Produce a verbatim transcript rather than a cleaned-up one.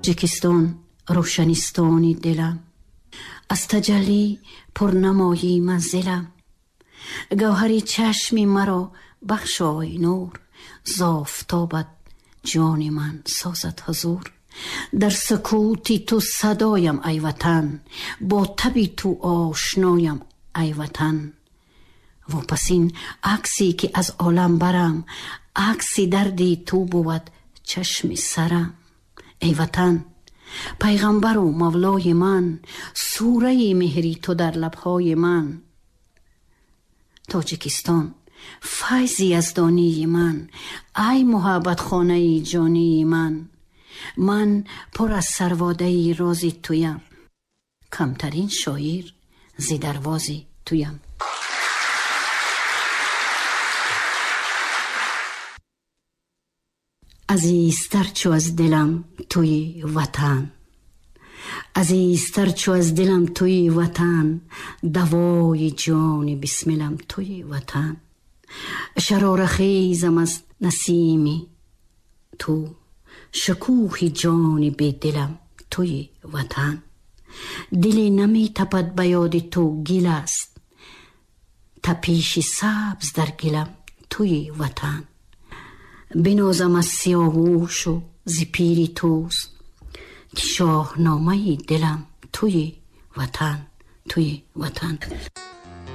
Тоҷикистон рӯшанистони дилам, аз таҷаллӣ пурнамои манзилам. Гавҳари чашми маро бахшой нур, зофтобат ҷони ман созад ҳузур. Дар сукути ту садоям ай ватан, бо таби ту ошноям ай ватан. Вопасин аксе ки аз олам барам, акси дарди ту бувад чашми сарам. Эй ватан, пайғамбару мавлои ман, сураи меҳри ту дар лабҳои ман. Тоҷикистон, файзи яздонии ман, ай муҳаббатхонаи ҷонии ман. Ман пур аз сарводаи рози туям, камтарин шоир зи дарвози туям. Азизтар чу аз дилам туи ватан, азизтар чу аз дилам туи ватан, давои ҷони бисмилам туи ватан. Шарорахезам аз насими ту, шукӯҳи ҷони бедилам туи ватан. Диле наметапад ба ёди ту гил аст, тапиши сабз дар гилам туи ватан. Бинозам аз сиёвушу зи пири туст, ки шоҳномаи дилам туи ватан, туи ватан.